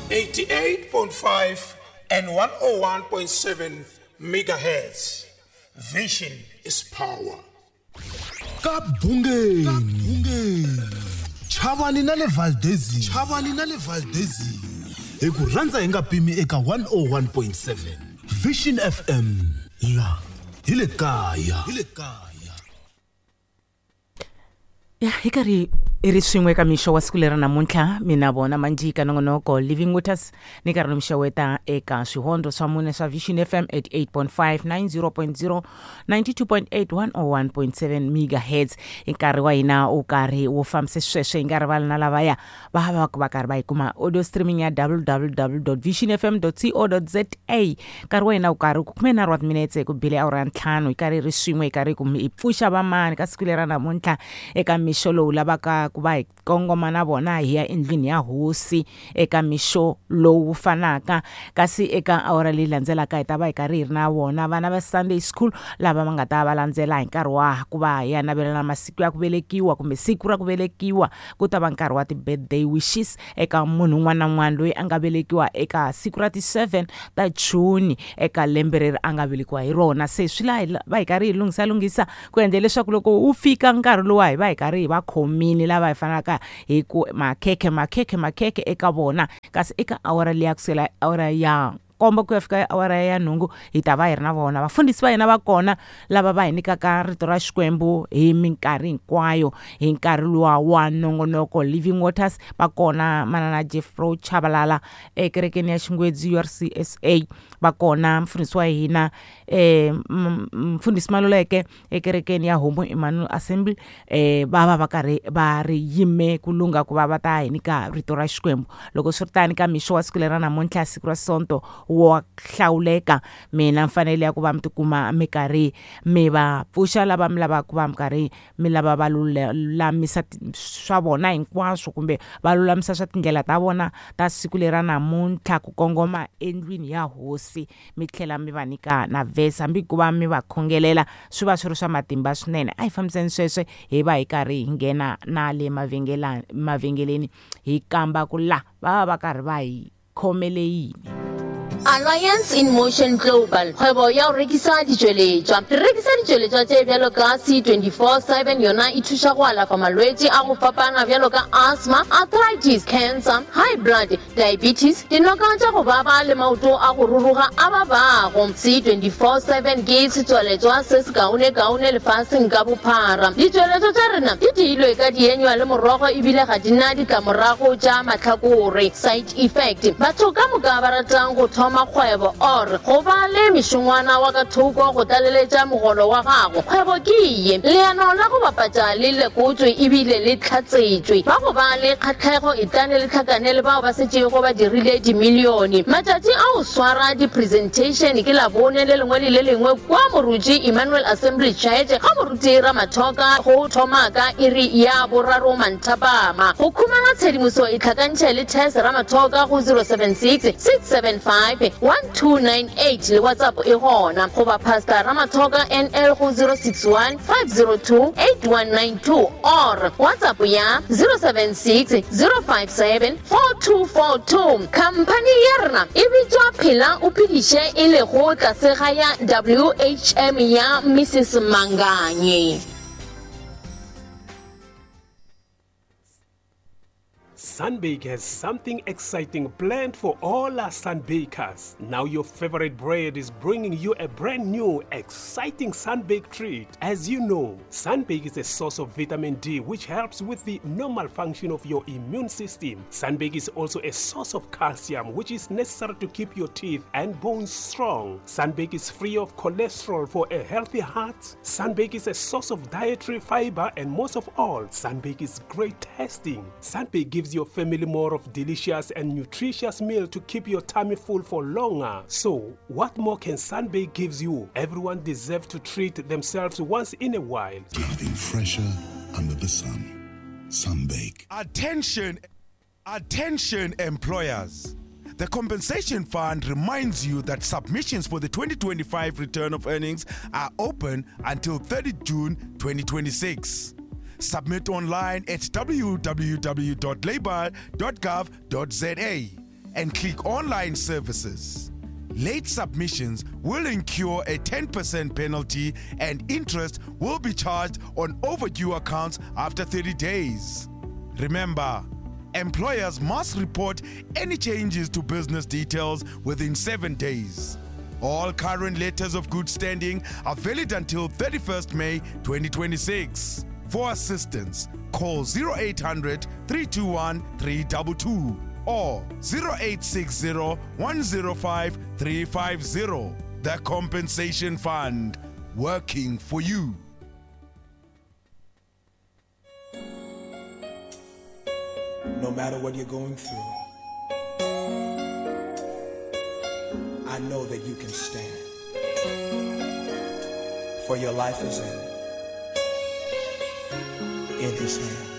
88.5 and 101.7 megahertz. Vision is power. Ka bungeni chavani na le Valdezini, chavani na le Valdezini, hi ku rhandza hi nga pimi eka 101.7 Vision FM, la hi le kaya, hi le kaya. Ya hi karhi hi ri swin'we eka mixo wa siku leri namuntlha, mina vona Manjika nongonoko Living Waters ni karhi ni mixeweta eka swihondzo swa mune swa Vision FM 88.5, 90.0, 92.8, 101.7 megahertz. Hi nkarhi wa hina wu karhi wu fambise sweswo, hi nga rivali na lavaya va va va karhi va yi kuma audio streaming ya www visionfm co za. Nkarhi wa hina wu karhi ku 13 wa timinetse ku bile awara ya 5, hi karhi hi ri swin'we, hi karhi ku hi pfuxa vamani ka siku leri namuntlha eka mixo lowu lavaka ku va hi kongoma na vona hi ya endlwini ya hosi eka mixo lowu fanaka. Kasi eka awara leyi landzelaka hi ta va hi karhi hi ri na vona vana va Sunday school lava va nga ta va landzela hi nkarhi wa ku va hi ya navelana masiku ya ku velekiwa kumbe siku ra ku velekiwa. Ku ta va nkarhi wa ti-birthday wishes eka munhu un'wana na un'wana loyi a nga velekiwa eka siku ra ti-7 ta June eka lembe reri a nga velekiwa hi rona. Se swi laha va hi karhi hi lunghisa ku endla leswaku loko wu fika nkarhi lowa hi va hi karhi hi va khomile lava hi fanelaka hi ku makhekhe makhekhe makhekhe eka vona. Kasi eka awara leyi kusukela awara ya 7 ku ya fika awara ya 8 hi ta va hi ri na vona vafundhisi va hina va kona lava va hi nyikaka rito ra Xikwembu hi minkarhi hinkwayo hi nkarhi luwa wa nongonoko Living Waters. Va kona manana Jeffro Chabalala ekerekeni ya Xingwedzi URCSA, va kona mfundhisi wa hina mfundhisi Maluleke ekerekeni ya Homo Emmanuel Assembly, va va karhi va ri yime ku lungha ku va va ta hi nyika rito ra Xikwembu. Loko swi ri tani ka mixo wa siku leri ra namuntlha, siku ra Sonto wa hlawuleka, mina mfanelo ya ku va mi tikuma mi karhi mi va pfuxa lava mi lavaka ku va mi karhi mi lava va lulamisa swa vona hinkwaswo kumbe va lulamisa swa tindlela ta vona ta siku leri ra namuntlha ku kongoma endlwini ya hosi, mi tlhela mi va nyika na verse hambi ku va mi va khongelela swi va swi ri swa matimba swinene. A hi fambiseni sweswo hi va hi karhi hi nghena na le mavhengeleni hi kamba ku la va va karhi va hi khomele yini. Alliance in Motion Global, kgwebo ya go rekisa ditšweletšwa. Re rekisa ditšweletšwa tše bjalo ka C24/7, yona e thuša go alafa malwetši a go fapana bjalo ka asthma, arthritis, cancer, high blood, diabetes, dinoka tša go baba le maoto a go ruruga a babago. C24/7 ke setswaletšwa se sekaonekaone lefaseng ka bophara. Ditšweletšwa tša rena di diilwe ka dienywa le morogo ebile ga di na ditlamorago tša mahlakore, side effect. Batho ka moka ba ratang go thoma kgwebo or go ba le mešongwana wa ka thoko go tlaleletša mogolo wa gago, kgwebo ke ye. Leano la go bapatša le lekotšwe ebile le hlatsetšwe. Ba go ba le kgahlego etlane le hlakane le bao ba setšego ba dirile dimilione. Matšatši a go swara di-presentation ke Labone le lengwe le le lengwe kua Moruti Emmanuel Assembly Church ga Moruti Ramathoka go thoma ka iri ya 3 manthapama. Go khumana tshedimoso itlhakantšhe le Tess Ramathoka go 076 675 1298 le WhatsApp e gona, goba Pastor Ramathoka NL go 061 502 8192 or WhatsApp ya 076 057 4242. Khamphani ya rena e bitšwa Phela o Phediše e lego tlase ga ya WHM ya Mrs Manganye. Sunbake has something exciting planned for all our Sunbakers. Now your favorite bread is bringing you a brand new, exciting Sunbake treat. As you know, Sunbake is a source of vitamin D, which helps with the normal function of your immune system. Sunbake is also a source of calcium, which is necessary to keep your teeth and bones strong. Sunbake is free of cholesterol for a healthy heart. Sunbake is a source of dietary fiber, and most of all, Sunbake is great tasting. Sunbake gives your family more of delicious and nutritious meal to keep your tummy full for longer. So, what more can Sunbake gives you? Everyone deserves to treat themselves once in a while. Nothing fresher under the sun. Sunbake. Attention, attention employers. The Compensation Fund reminds you that submissions for the 2025 return of earnings are open until 30 June 2026. Submit online at www.labour.gov.za and click Online Services. Late submissions will incur a 10% penalty and interest will be charged on overdue accounts after 30 days. Remember, employers must report any changes to business details within 7 days. All current letters of good standing are valid until 31st May 2026. For assistance, call 0800 321 322 or 0860 105 350. The Compensation Fund, working for you. No matter what you're going through, I know that you can stand. For your life is in His hands.